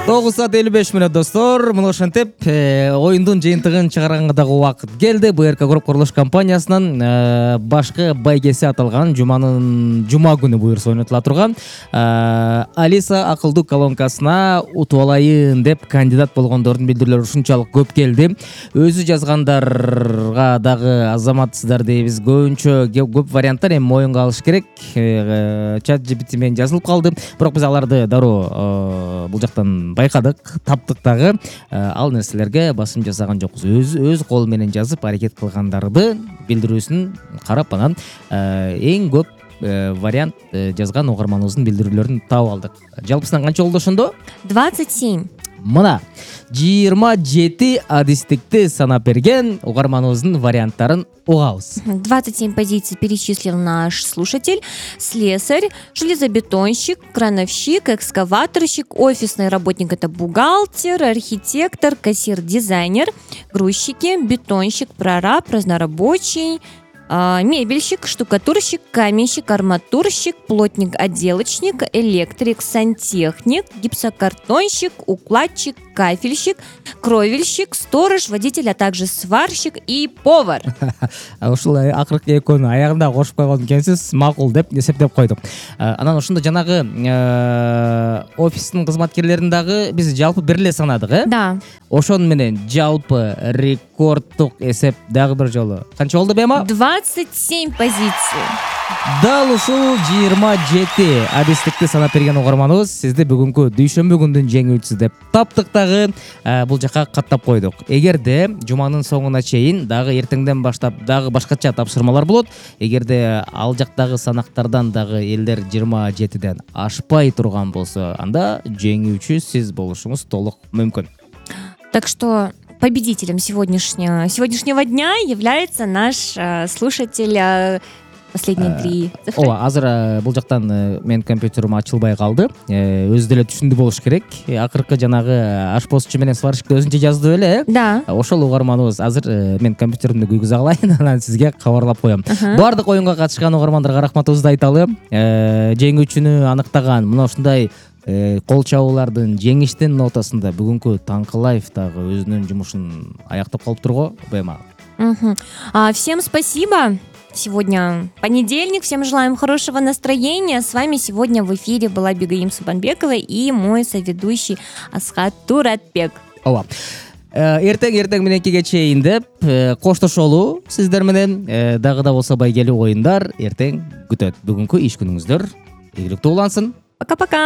9:55 достор. Мына ошентип оюндун жыйынтыгын чыгарганга дагы убакыт келди. БРК Групп курулуш компаниясынын башкы байгеси аталган жума күнү буюрса ойнотула турган Алиса акылдуу колонкасына утуп алайын деп кандидат болгондордун билдирүүлөрү ушунчалык көп келди. Өзү жазгандарга дагы азаматсыздар дейбиз. Көбүнчө көп варианттар эми моюнга алыш керек. Чат GPT менен жазылып калды. Бирок биз аларды дароо бул жактан байкадык, таптык дагы. Ал нерселерге басым жасаган жокпуз. Өз кол менен жазып аракет кылгандарды билдирүүсүн карап анан эң көп вариант жазган угарманыбыздын билдирүүлөрүн таап алдык. Жалпысынан канча болду ошондо? 27. Мына 27 адистикти санап берген угарманыбыздын варианттарын угабыз. 27 позиций перечислил наш слушатель. Слесарь, железобетонщик, крановщик, экскаваторщик, офисный работник — это бухгалтер, архитектор, кассир, дизайнер, грузчики, бетонщик, прораб, разнорабочий, мебельщик, штукатурщик, каменщик, арматурщик, плотник, отделочник, электрик, сантехник, гипсокартонщик, укладчик, кафельщик, кровельщик, сторож, водитель, а также сварщик и повар. Ушул акыркы экөөнү аягында кошуп койгон экенсиз, макул деп эсептеп койдук. Анан ошондо жанагы офистин кызматкерлерин дагы биз жалпы бир эле санадык, э? Да. Ошону менен жалпы рекорддук эсеп дагы бир жолу канча болду Бема? 27 позиций. Дал ушул 27 адистикти санап берген угарманыбыз сизди бүгүнкү дүйшөмбү күндүн жеңүүчүсү деп таптык дагы бул жака каттап койдук. Эгерде жуманын соңуна чейин дагы эртеңден баштап дагы башкача тапшырмалар болот. Эгерде ал жактагы санактардан дагы элдер 27ден ашпай турган болсо, анда жеңүүчү сиз болушуңуз толук мүмкүн. Так что победителем сегодняшнего дня является наш слушатель. Последние 3 цифры. Ооба, азыр бул жактан менин компьютерим ачылбай калды. Өзү деле түшүндү болуш керек. Акыркы жанагы ашпозчу менен сварщикти өзүнчө жазды беле, э? Да. Ошол угарманыбыз азыр менин компьютеримди күйгүзө алайын, анан сизге кабарлап коем. Баардык оюнга катышкан угармандарга рахматыбызды айталы. Жеңүүчүнү аныктаган мына ушундай кол чабуулардын, жеңиштин нотасында бүгүнкү Таңкылаев дагы өзүнүн жумушун аяктап калыптыр го, Бема. Всем спасибо. Сегодня понедельник. Всем желаем хорошего настроения. С вами сегодня в эфире была Бегаим Субанбекова и мой соведущий Асхат Туратбек. Ооба. Эртең мененкиге чейин деп коштошолу сиздер менен. Дагы да болсо байгелүү оюндар эртең күтөт. Бүгүнкү иш күнүңүздөр ийгиликтүү улансын. Пока-пока.